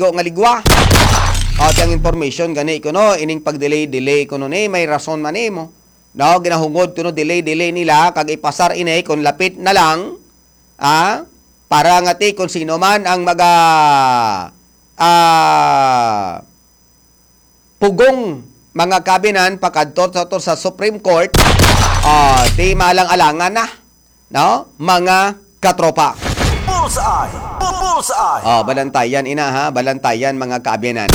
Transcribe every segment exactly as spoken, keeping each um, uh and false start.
Go nga ligwa. O, ti ang information gani kuno, ining pag-delay-delay kuno ni, may rason man nimo. No, ginahungod kuno delay-delay nila, kag ipasar ini kung lapit na lang, ah, para nga ti kung sino man ang maga, ah, pugong mga kabinan, pagkadto sa, to sa Supreme Court, ah, ti malang-alangan na, no, mga katropa. Bullseye! Bu-, bullseye! Oh, balantayan ina ha, balantayan mga kaabyanan.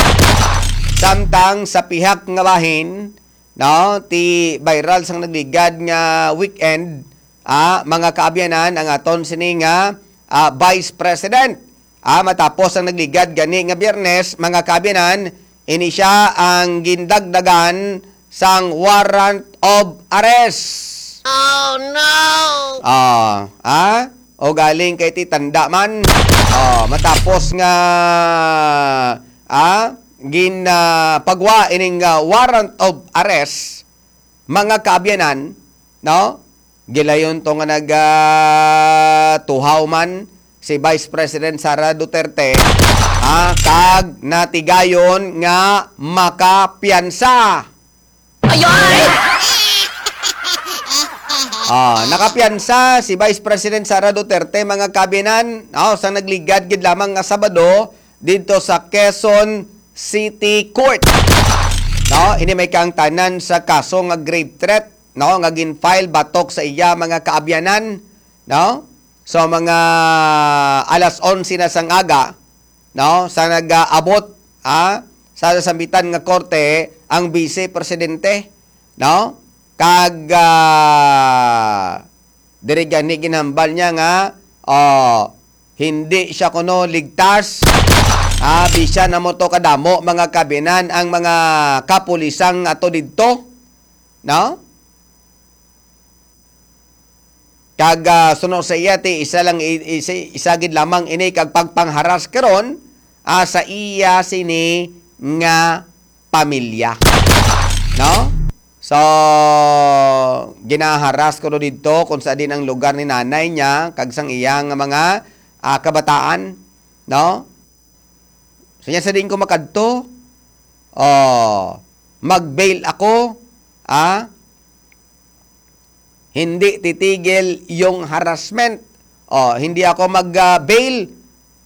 Samtang sa pihak nga bahin, no, ti viral sang nagligad nga weekend, ah, mga kaabyanan, ang aton sini nga, ah, Vice President. Ah, matapos ang nagligad gani nga Biyernes, mga kaabyanan, ini siya ang gindagdagan sang warrant of arrest. Oh, no! Ah, ah? O galing kay ti tanda man. Oh, matapos nga, ah, gin, ah, pagwa ining, ah, warrant of arrest, mga kaabyanan, no? Gilayon to nga nag, ah, tuhaw man si Vice President Sara Duterte, ah, kag natigayon nga makapiyansa. Ayoy! Ah, nakapiyansa si Vice President Sara Duterte, mga kabinan, oh, sa nagligad gid lamang nga Sabado didto sa Quezon City Court. No, ini may kaangtanan sa kaso nga grave threat, no, nga gin-file batok sa iya mga kaabyanan, no? So, mga alas onse na sang aga, no, sa nag-aabot, ah, sa sambitan nga korte ang Vice Presidente, no? Kag, ah, diri gani ginhambal niya nga, oh, hindi siya kuno ligtas. Ah, bisan na mo to kadamo, mga kabinan, ang mga kapulisang ato didto, no? Kag, ah, suno sa iya, ti isa lang i-, isa, isa gid lamang ini kag pagpangharas karon, ah, sa iya sini nga pamilya. No? So, ginaharas ko didto kung sa din ang lugar ni nanay niya kag sang iya nga mga, ah, kabataan, no? So, niya sa din ko makadto, oh, mag-bail ako, ah, hindi titigil yung harassment. Oh, hindi ako mag, ah, bail.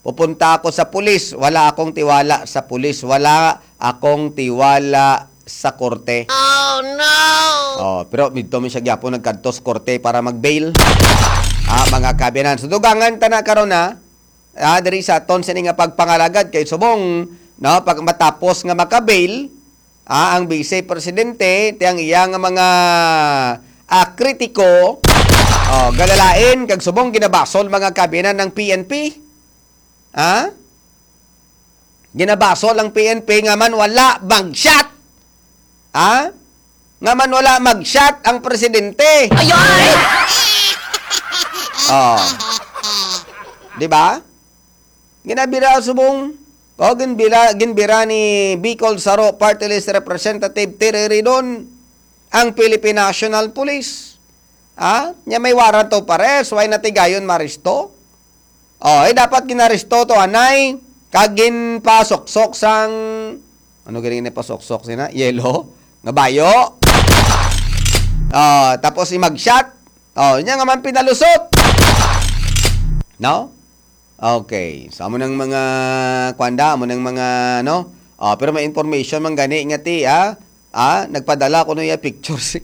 Pupunta ako sa pulis. Wala akong tiwala sa pulis. Wala akong tiwala sa korte. Oh, no! Oh, pero dito mi siya gyapon nagkadto sa korte para mag-bail. Ah, mga kabinan. So, dugangan ta na karon, ha? Ah, diri sa aton sini nga pagpangalagad kay subong, no, pag matapos nga maka-bail, ah, ang Vice Presidente, ti ang iya nga mga, ah, kritiko, oh, galalain kag subong ginabasol mga kabinan ng P N P. Ha? Ginabasol ang P N P nga man wala mag-shot. Ha? Nga man wala mag-shot ang presidente. Ayoy! Oh. Di ba? Ginabira subong. O, ginbira, ginbira ni Bicol Saro Party List Representative Terry Ridon ang Philippine National Police. Ha? Nya may warrant of arrest, why natigayon maresto? Oh, eh, dapat ginaresto to, anay, kag ginpasuksok sang, ano gani ginpasuksok sina? Yelo? Nga bayo? Oh, tapos imagshot? Oh, nya nga man pinalusot. No? Okay. So, amo nang mga, kwanda, amo nang mga, no? Oh, pero may information man gani nga ti, ah, ah, nagpadala ko iya picture si,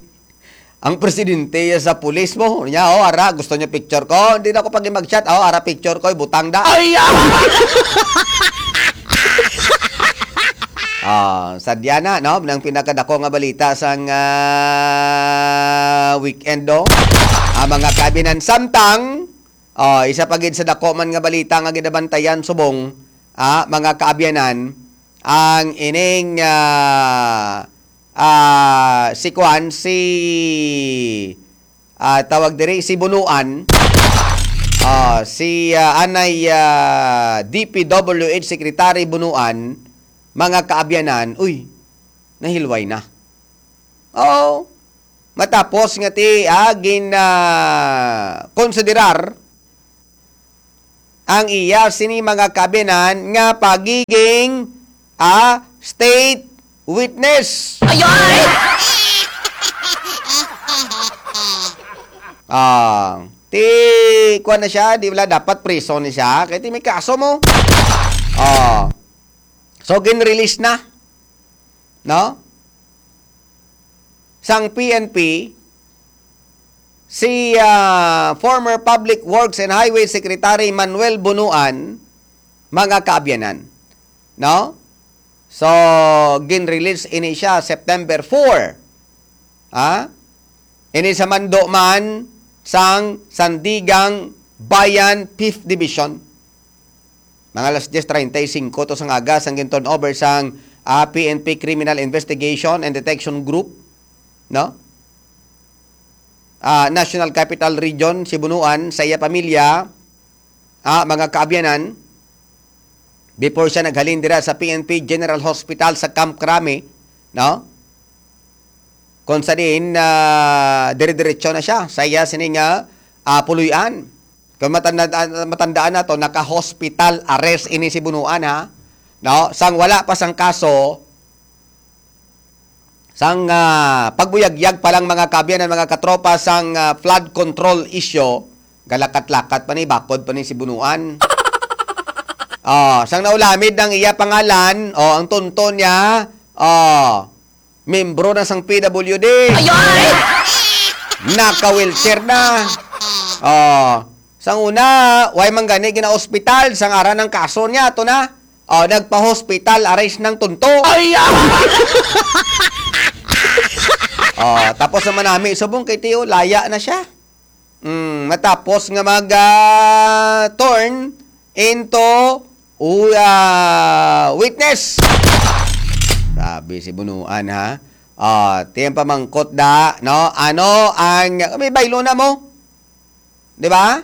ang presidente iya sa pulis mo. Niya, oh, ara, gusto niya picture ko. Hindi na ako pag mag-chat. Oh, ara, picture ko, butang da. Ay, ah! Ah, sadya na, no? Nang pinakadako nga balita sang, ah, weekend, no? Ah, mga kabinan, samtang, ah, isa pa gid sa dako man nga balita nga ginabantayan subong, ah, mga kaabyanan, ang ining, ah, ah, si kuan, si, ah, tawag diri, si Bunuan, ah, si, ah, anay, ah, D P W H Secretary Bunuan, mga kaabyanan, uy, nahilway na. Oo. Matapos nga ti, ah, gin, ah, konsiderar ang iya sini, mga kaabyanan, nga pagiging, ah, state witness. Ayay! Ah, ti, kuwan na siya, di wala dapat prison ni siya, kay ti may kaso mo. Ah. So, gin-release na, no? Sang P N P, si, ah, former Public Works and Highway Secretary Manuel Bunuan, mga kaabyanan, no? So, gin-release ini siya September four. Ha? Ini sa mando man sang Sandigang Bayan Fifth Division. Mga alas diyes treinta y cinco to sang aga sang gin-turn over sang, ah, P N P Criminal Investigation and Detection Group, no? Ah, National Capital Region, si Bunuan, sa iya pamilya, ah, mga kaabyanan, before siya naghalin dira sa P N P General Hospital sa Camp Crame, no? Kung sa diin, ah, dire-diretso na siya sa iya sini nga, ah, puloy-an. Kung matanda-, matandaan nato, naka-hospital arrest ini si Bunuan, ha? No? Sang wala pa sang kaso, sang, ah, pagbuyagyag pa lang, mga kaabyanan, mga katropa, sang, ah, flood control issue, galakat-lakat pa ni, bakod pa ni si Bunuan. Oh, sang naulamid ang iya pangalan, oh, ang tunto niya, oh, membro na sang P W D. Ayay! Naka-wheelchair na. Oh, sang una, way man gani gina-ospital, sang ara ng kaso niya, to na. Oh, nagpa-hospital, arrest ng tunto. Ay, ah! Oh, tapos naman nami, subong kay Tio, laya na siya. Mm, matapos nga mag, ah, turn into, u-, ah, witness. Grabe si Bunuan, ha? Ah, tiyang pamangkot da, no? Ano ang, may baylo na mo? Di ba?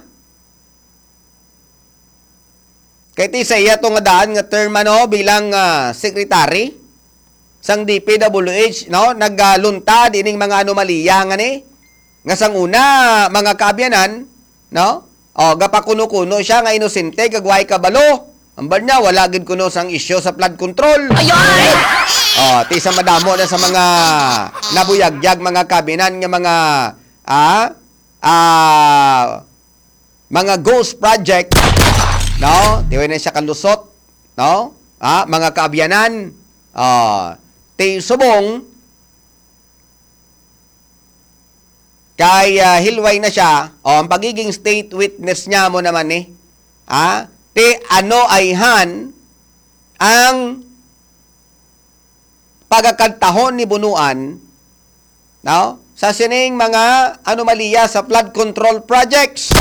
Kay ti sa iya to nga daan nga term, ano, bilang, ah, secretary sang D P W H, no, nagluntad ining mga anomalya nga ni, nga sang una, mga kaabyanan, no, o, gapakuno-kuno siya nga inosente kag way kabalo. Ambal niya, wala gid kuno sang isyu sa flood control. Ayay! O, ti sa madamo na sa mga nabuyagyag, mga kaabyanan, nga mga, ah, ah, mga ghost project, no? Di way na siya kalusot, no? Ah, mga kaabyanan, ah, ti subong kay, ah, hilway na siya, o, ang pagiging state witness niya mo naman ni, ah, ti ano ayhan ang pagakantahon ni Bunuan, no? Sa sining mga anomalya sa flood control projects.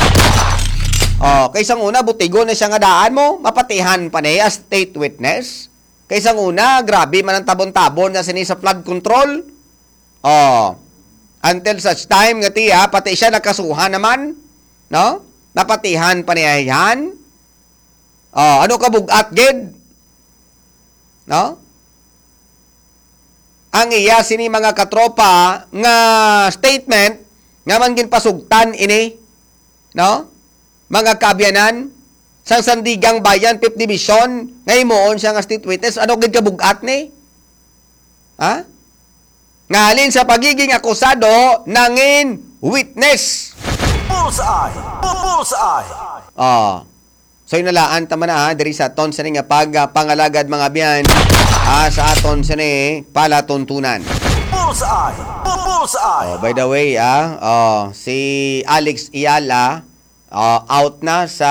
Oh, kay sang una, butigon na siya nga daan mo, mapatihan pa niya as state witness. Kay sang una, grabe man ang tabon-tabon na sini sa flood control. Oh, until such time nga tiya, pati siya nakasuhan naman, no? Napatihan pa niya yan. Oh, ano ka bugat gid? No? Ang iya sini mga katropa nga statement nga man ginpasugtan ini, no? Mga kaabyanan sang Sandigang Bayan, Fifth Division, nga himuon siya nga state witness, ano gid ka bugat ni? Ha? Nga halin sa pagiging akusado, nangin witness. Bullseye! Bullseye! Oh. So, yun na laan, tama na, ha, diri sa aton sini nga pag, ah, pangalagad, mga abyan, ah, sa aton sini palatuntunan. Bullseye! Bu-, Bullseye! Oh, by the way, ah, oh, si Alex Eala, ah, out na sa,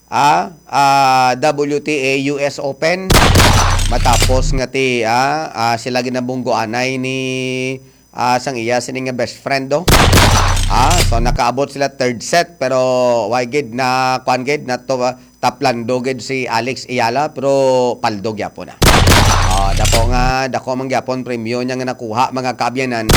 ah, ah, W T A U S Open. Matapos nga ti, ah, ah, sila ginabunggoanay ni ah, sang iya sini nga best friend, do. Ah, so nakaabot sila third set, pero why gid na, kuan gid na to, ah, taplando gid si Alex Eala, pero paldo gyapon na. Ah, dako nga, dako man gyapon premyo niya nga nakuha, mga kaabyanan.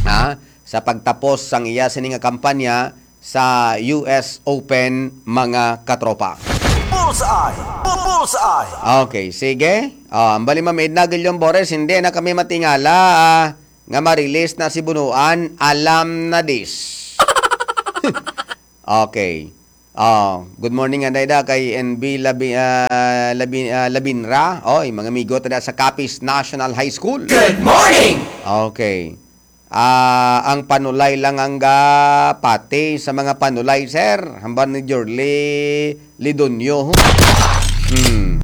Ah, sa pagtapos sang iya sini nga kampanya, sa U S Open, mga katropa. Bullseye! Bu-, Bullseye! Okay, sige. Ah, ang bali, Ma'am Edna Guillon Bores, hindi na kami matingala, ah, nga ma-release na si Bunuan. Alam na this. Okay. Oh, good morning, anday da, kay N B Labi-, ah, Labi-, ah, Labinra. Oy, mga amigo, tada sa Capiz National High School. Good morning! Okay. Ah, ang panulay lang ang gapati sa mga panulay, sir. Hambal ni Jorly Lidonio. Hmm.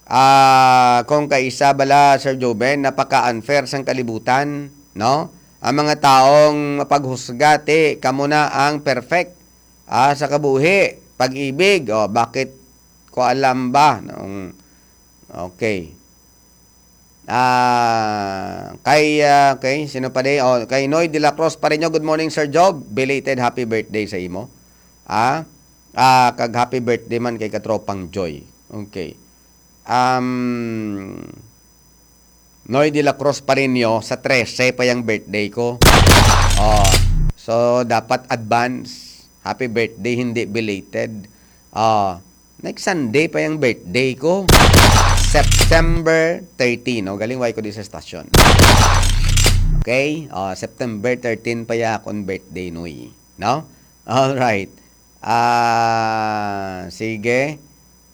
Ah, kung kaisa bala, Sir Joven, napaka-unfair sang kalibutan, no? Ang mga taong mapaghusga, ti, kamo na ang perfect, ah, sa kabuhi, pag-ibig. O, bakit ko alam ba? Nung, okay. Ah, kay, ah, kay, sino pa di? Oh, kay Noy de la Cruz pa rin nyo. Good morning, Sir Job. Belated happy birthday sa imo. Ah, ah, kag happy birthday man kay Katropang Joy. Okay. Um, Noy de la Cruz pa rin nyo, sa trese pa yung birthday ko. Oh, so, dapat advance. Happy birthday, hindi belated. Oh, next Sunday pa yung birthday ko. September thirteen, no? Galing, why ko di sa stasyon. Okay? Oh, September thirteen pa ya akong birthday, Noy. No? All right. Ah, sige.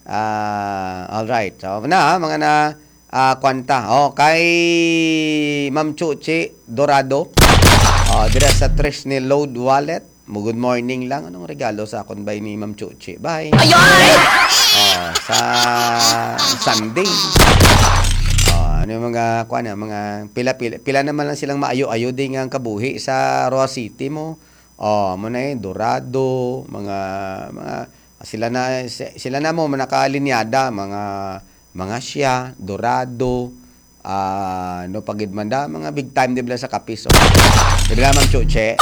Ah, all right. So, na, mga na, ah, kwanta. Oh, kay Ma'am Chuchi Dorado. Oh, dira sa Trisni Load Wallet. Mo, good morning lang. Anong regalo sa akon ba ni Ma'am Chuchi? Bye. Ayay! Oh, sa Sunday. Oh, ano yung mga, kuwan na, mga pila-pila, pila naman lang silang maayo-ayo din nga ang kabuhi sa Roa City mo. Oh, mo na eh, Dorado, mga, mga, sila na, si-, sila na mo, mga nakalinyada, mga, mga siya, Dorado, ah, no, pagid man da, mga big time, di ba, sa Capiz, oh. Di ba, Ma'am Chuche?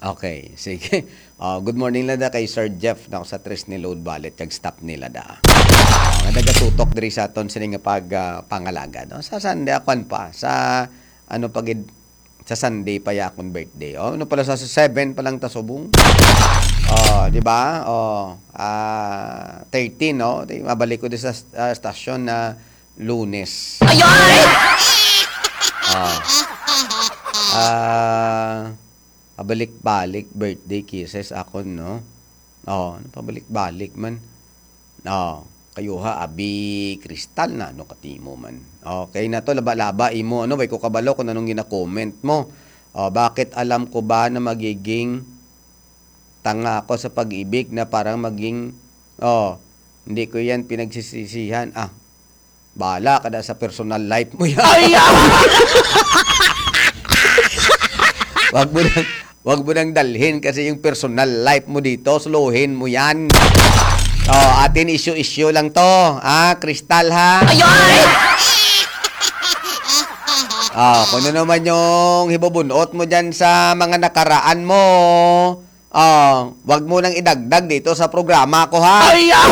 Okay, sige. Oh, good morning lang da kay Sir Jeff, no, sa Trisni Load Wallet, kag staff nila da. Oh, nga nagatutok diri sa aton sini nga pag, ah, pangalaga, no? Sa Sunday, akwan pa, sa, ano, pagid, sa Sunday pa ya akong birthday. Oh, ano pala sa seven pa lang ta subong? Oh, di ba? Oh, ah, thirteen, no? Di, mabalik ko di sa, ah, stasyon na Lunes. Ayay! Oh. Ah, pabalik-balik birthday kisses akon, no? Oh, ano, pabalik-balik man. Oh, kayo ha, abi Kristal na, ano, katimo man. Okay na to, laba-laba imo, ano, way ko kabalo kung anong gina-comment mo. Oh, bakit alam ko ba na magiging tanga ako sa pag-ibig na parang maging, oh, hindi ko yan pinagsisisihan. Ah, bahala ka na sa personal life mo yan. Ay, ah! Wag mo nang, wag mo nang dalhin kasi yung personal life mo dito, suluhin mo yan. Oh, atin issue-issue lang to, ah, Kristal, ha? Ay, ay! Oh, kung ano naman yung hibubunot mo dyan sa mga nakaraan mo, oh, wag mo nang idagdag dito sa programa ko, ha? Ay, ah!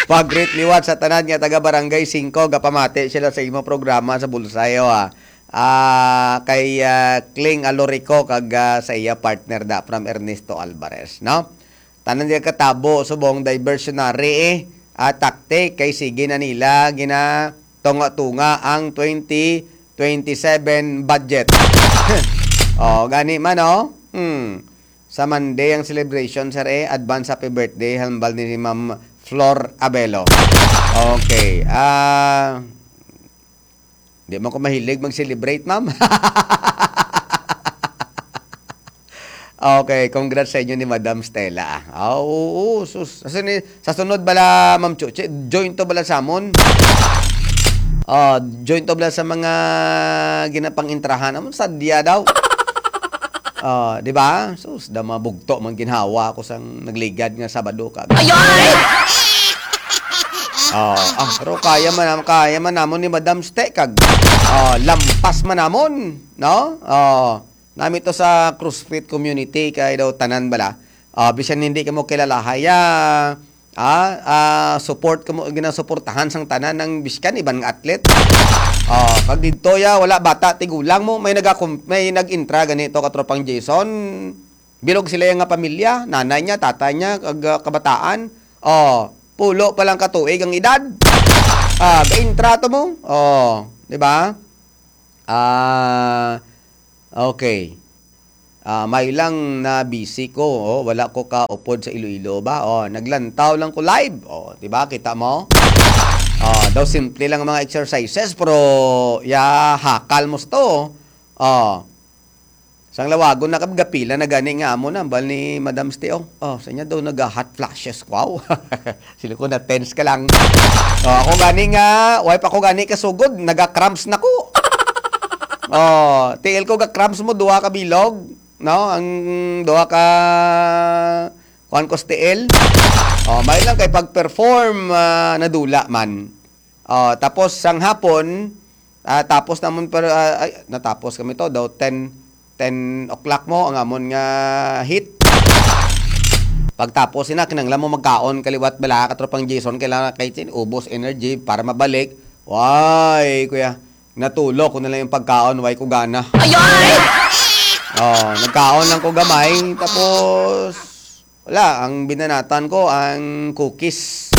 Pag-greet liwat sa tanan nga taga Barangay Singko, gapamati sila sa imo programa sa Bulsayo, ha. Ah, kay, ah, Kling Alorico kag, ah, sa iya partner da from Ernesto Alvarez, no? Tanan diya katabo subong diversionary, eh, ah, tactic kay sige na nila ginatunga-tunga ang twenty twenty-seven budget. Oh, gani man, oh. Hmm. Sa Monday ang celebration, sir, eh. Advance happy birthday, hambal ni Ma'am Flor Abelo. Okay. Ah, di man ko mahilig mag-celebrate, ma'am. Okay, congrats sa inyo ni Madam Stella. Ah, oo, sus. Sa sini-, sa sunod bala, Ma'am Chuchi, join to bala sa amon. Ah, join to bala sa mga ginapang-intrahan. Amon, sadya daw. Ah, di ba? Sus, da mga bugto, mga ginhawa ako sang nagligad nga Sabado ka. Ayay! Ah, ah, pero kaya man, kaya man namon ni Madam Ste, kag, ah, lampas man namon, no? Ah, nami to sa CrossFit community, kay daw tanan bala. Ah, bisan hindi ka mo kilalahay, ah, ah, ah, support ka mo, ginasuportahan sang tanan ng biskan, iban nga atlet. Ah, pag didto ya, wala bata, tigulang mo, may nagakom-, may nag-intra ganito, katropang Jason. Bilog sila nga pamilya, nanay niya, tatay niya, kag, ah, kabataan. Oh, pulo pa lang ka tuig ang edad. Ah, ga-intra to mo. Oh, di ba? Ah, okay. Ah, may lang na busy ko, oh, wala ko kaupod sa Iloilo ba? Oh, naglantaw lang ko live. Oh, di ba? Kita mo? Oh, daw simple lang ang mga exercises, pero ya hakal mo sto. Oh. Sang lawagon na kag gapila na gani nga amo na bal ni Madam Ste, oh. Oh, sa niya daw naga-hot flashes. Wow. Sila ko na tense ka lang. Oh, ako gani nga, way pa ko gani kasugod, naga-cramps na ko. Oh, tiil ko ga-cramps mo duha ka bilog, no? Ang duha ka kuan ko sa tiil. Oh, may lang kay pag-perform, ah, nadula man. Oh, tapos sang hapon, ah, tapos namon, pero, ah, ay, natapos kami to daw ten, ten o'clock mo ang amon nga hit. Pagtapos ina, kinanglan mo magkaon kaliwat bala, katropang Jason, kailangan kay tin ubos energy para mabalik. Way, kuya, natulog ko na lang yung pagkaon, way ko gana. Ay, ay! Oh, nagkaon lang ko gamay, tapos wala, ang binanatan ko ang cookies.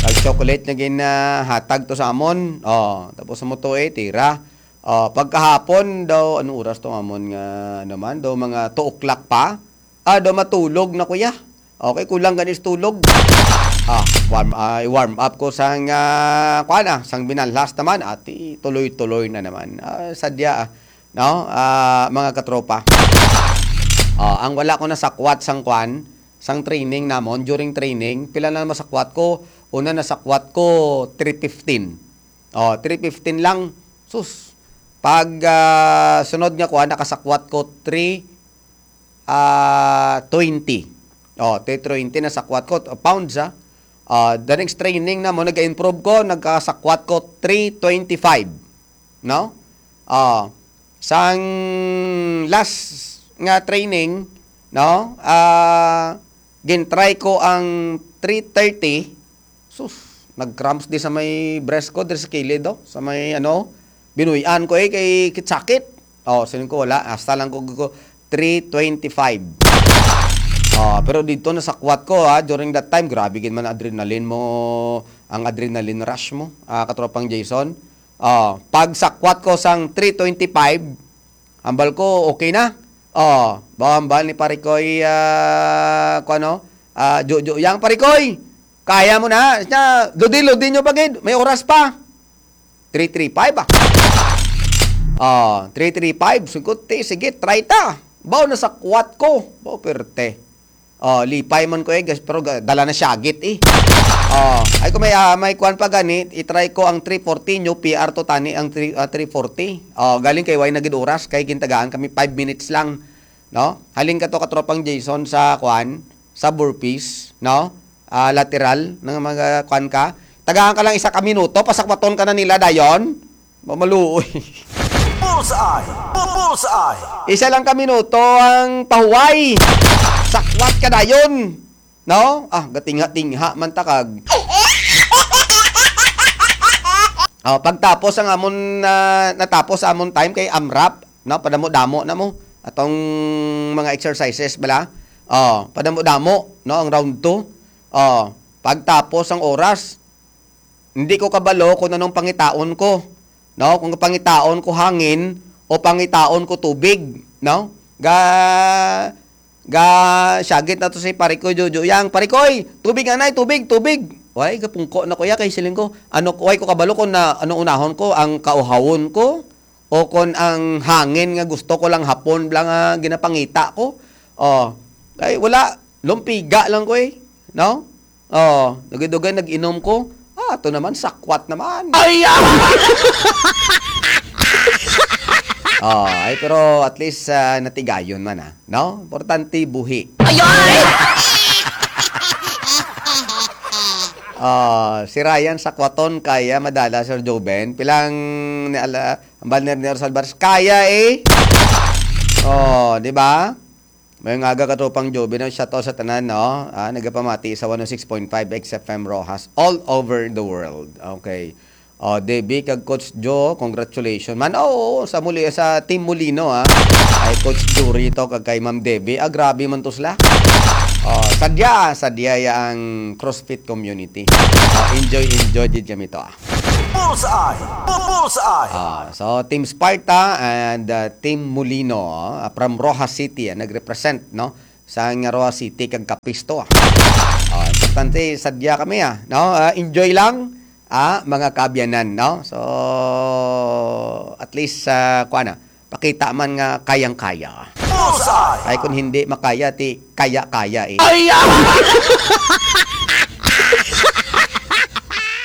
Kag chocolate na ginahatag to sa amon. Oh, tapos mo to eh, tira. Oh, pagkahapon daw, anong oras to amon nga naman? Daw mga two o'clock pa. Ah, daw matulog na, kuya. Okay, kulang ganis tulog. Ah, warm, ah, warm up ko sang, ah, kuan, ah, sang binalhas naman. Ati, tuloy-tuloy na naman. Ah, sadya, ah, no? Ah, mga katropa. Ah, ang wala ko nasakwat sang kuan, sang training namon, during training, pila na masakwat ko? Una nasakwat ko three fifteen. Oh, three fifteen lang. Sus. Pag, ah, sunod nga kuan, nakasakwat ko three, ah, twenty. Oh, three twenty nasakwat ko, uh, pounds, ah. Ah, the next training na mo, nag-improve ko, nagkasakwat ko three twenty-five. No? Ah, sang last nga training, no? Ah, gin-try ko ang three thirty. Sus, nag-cramps di sa may breast ko, diri sa kilid, oh, sa may, ano, binuy-an ko, eh, kay kit-, sakit. Oh, siling ko, wala. Hasta lang ko, ko three twenty-five. Oh, pero dito nasakwat ko, ha, during that time, grabe gid man adrenaline mo, ang adrenaline rush mo, ah, katropang Jason. Oh, pag sakwat ko sang three twenty-five, hambal ko, okay na. Oh, ba, hambal ni Parikoy, ah, kung ano, ah, Jojo, yang Parikoy, kaya mo na. Siya, ludi, ludi nyo pa gid. May oras pa. Three three five, ah. Oh, three three five. Sungkot, ti, sige, try ta. Baw, nasakwat ko. Baw, perte. Oh, lipay man ko eh, gas-, pero ga-, dala na siya agit eh. Oh, ay ko may, ah, may kuan pa gani, i-try ko ang three forty, new P R to tani ang three, ah, three forty. Oh, galing kay way na gid oras, kay gintagaan kami five minutes lang, no? Halin ka to, katropang Jason, sa kuan, sa burpees, no? Ah, lateral, ng mga kuan ka. Tagaan ka lang isa ka minuto, pasakwaton ka na nila dayon. Mamaluoy. Bullseye! Bu-, Bullseye! Isa lang ka minuto ang pahuway. Sakwat ka dayon. No? Ah, gatingha-tingha man takag. Oh, pagtapos ang amon, ah, natapos amon time kay AMRAP, no? Padamo-damo na mo atong mga exercises bala. Oh, padamo-damo, no, ang round two. Oh, pagtapos ang oras, hindi ko kabalo kung anong pangitaon ko, no? Kung pangitaon ko hangin o pangitaon ko tubig, no? Ga, ga, syagit na to si Parikoy Jojo. Yang, "Parikoy, tubig, anay, tubig, tubig." Way, gapungko na ko ya kay siling ko, ano, way ko kabalo kung na, ano unahon ko, ang kauhawon ko o kon ang hangin nga gusto ko lang hapon lang nga ginapangita ko. Oh, ay, wala. Lumpiga lang ko eh. No? Oh, dugay-dugay nag-inom ko. Ah, ato naman, sakwat naman. Ay, ah! Oh, ay, pero at least, ah, natigayon man, ah. No? Importante, buhi. Ay, ay! Oh, si Ryan sakwaton, kaya madala, Sir Joven. Pilang ni ala, ang banner ni Rosal Baris, kaya eh. Oh, di ba? May nga aga, katropang Joven, no? Shout out sa tanan, no? Ah, nagapamati sa one oh six point five X F M Roxas all over the world. Okay. Oh, Debbie kag Coach Joe, congratulations man. Oo, sa muli, sa Team Molino, ah. Kay Coach Jury to, kag kay Ma'am Debbie. Ah, grabe man to sila. Oh, sadya, sadya ya ang CrossFit community. Oh, enjoy, enjoy, did kami to, ah. Bullseye! Bu- Bullseye! Ah, so, Team Sparta and, uh, Team Molino, ah, from Roxas City, ah, nag-represent, no? Sa nga Roxas City kag Capiz to, ah. Ah, importante, sadya kami, ah, no? Ah, enjoy lang, ah, mga kaabyanan, no? So, at least, ah, kuha na. Pakita man nga kayang-kaya. Bullseye! Ay, kung hindi makaya, ti kaya-kaya eh. Ay, ah!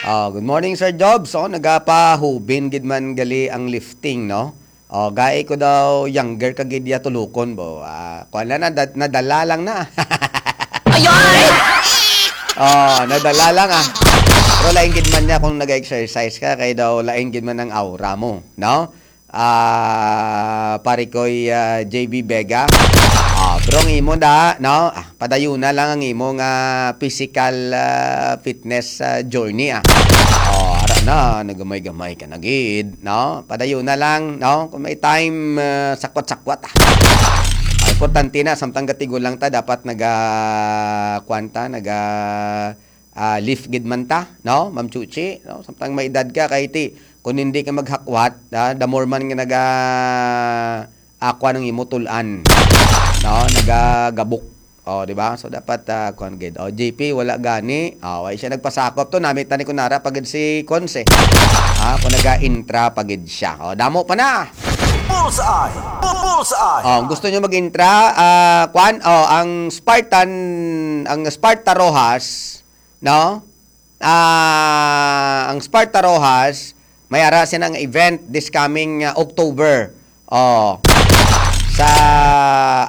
Oh, good morning, Sir Jobs. Oh, nagapahubin gid man gali ang lifting, no? Oh, gai ko daw younger ka gid ya tulukon, bo. Ah, kuwan na, nada- nadala lang na. Ay, ay! Oh, nadala lang, ah. Pero lain gid man niya kung nag-exercise ka, kay daw lain gid man ang aura mo, no? Ah, pare ko'y, ah, J B Vega. Ah, pero ang imo na, no? Ah, padayuna lang ang imo nga physical, ah, fitness, ah, journey, ah. Oh, ara na, nagamay-gamay ka na gid, no? Padayuna lang, no? Kung may time, ah, sakwat-sakwat, ah. Ah, importante na, samtang gatigulang ta, dapat naga, kuwan ta, naga, ah, lift gid man ta, no, Ma'am Chuchi, no? Samtang may edad ka, kay ti, kung hindi ka maghakwat, ah, the more man nga naga, ah, kuwan ang imo tulan, no, nagagabok. Oh, di ba? So, dapat, ah, kuwan gid. Oh, J P, wala gani. Oh, wala siya nagpasakop to. Namit na ni Kunara pa gid si Conce. Ah, kung naga-intra pa gid siya. Oh, damo pa na. Bullseye! Bu- Bullseye! Oh, gusto nyo mag-intra? Ah, kuwan? Oh, ang Spartan, ang Sparta Roxas, no? Ah, ang Sparta Roxas, may ara sila nga event this coming, ah, October. Oh, sa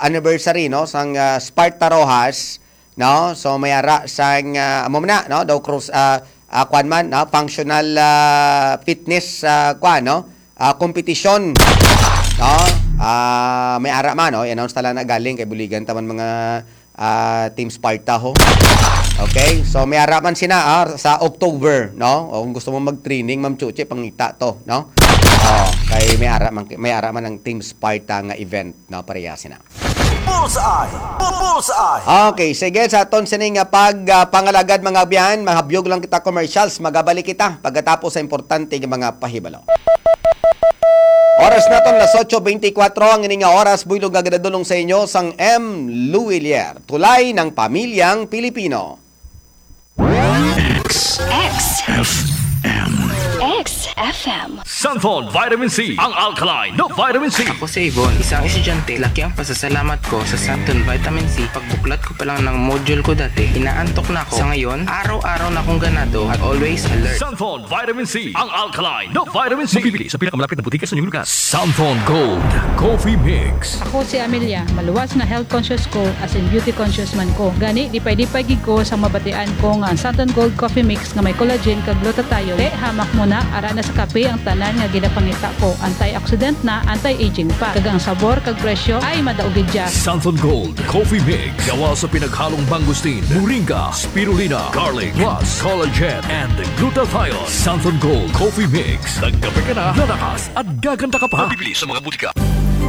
anniversary, no, sang, ah, Sparta Roxas, no? So, may ara sang, ah, amo man na, no? Daw cross, ah, ah, kwan man, no? Functional, ah, fitness, ah, kwan, no? Ah, competition, no? Ah, may ara man, no? I-announce ta lang na galing kay buligan ta man mga, ah, Team Sparta ho. Okay? So, may ara man sina, ah, sa October, no? O kung gusto mo mag-training, Ma'am Chuchi, pangita to, no? Oh, kay may ara man, may ara man ang Team Sparta nga event, no? Pareha sina. Bullseye! Bu- Bullseye! Okay, sige, sa aton sini nga pag, ah, pangalagad, mga abyan, mahabyog lang kita commercials, magabalik kita pagkatapos sa importante nga mga pahibalo. Oras naton, las otso beintikwatro ang ini nga oras, buylog nga ginadulong sa inyo sang M Luwilier, tulay ng pamilyang Pilipino. X. X. F M. X F M. Santhon Vitamin C, ang alkaline na vitamin C. Ako si Yvonne, isang estudyante. Laki ang pasasalamat ko sa Santon Vitamin C. Pagbuklat ko pa lang ng module ko dati, inaantok na ako. Sa ngayon, araw-araw na akong ganado at always alert. Santhon Vitamin C, ang alkaline na vitamin C. Mabibili sa pinakamalapit na butika sa inyong lugar. Santhon Gold Coffee Mix. Ako si Amelia. Maluwas nga health conscious ko, as in beauty conscious man ko. Gani, lipay-lipay gid ko sa mabatian ko nga ang Santon Gold Coffee Mix nga may collagen kag glutathione. Te, hamak mo na, ara na sa kape ang tanan nga ginapangita ko. Antioxidant na, anti-aging pa. Kag ang sabor kag presyo ay madaog gid dya. Santon Gold Coffee Mix. Gawa sa pinaghalong mangosteen, moringa, spirulina, garlic, plus collagen and glutathione. Santon Gold Coffee Mix. Nagkape ka na, lalakas at gaganda ka pa. Mabibili sa mga butika.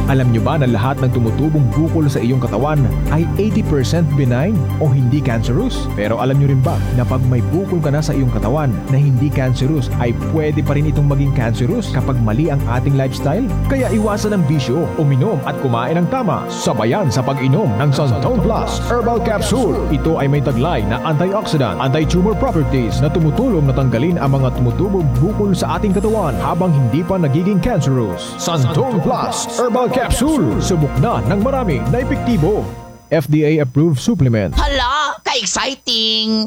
Alam nyo ba na lahat ng tumutubong bukol sa iyong katawan ay eighty percent benign o hindi cancerous? Pero alam nyo rin ba na pag may bukol ka na sa iyong katawan na hindi cancerous, ay pwede pa rin itong maging cancerous kapag mali ang ating lifestyle? Kaya iwasan ang bisyo, uminom at kumain ng tama. Sabayan sa pag-inom ng Santon Plus Herbal Capsule. Ito ay may taglay na antioxidant, anti-tumor properties na tumutulong na tanggalin ang mga tumutubong bukol sa ating katawan habang hindi pa nagiging cancerous. Santon Plus Herbal Capsule. Subok na ng marami na epektibo. F D A approved supplement. Hala, ka-exciting!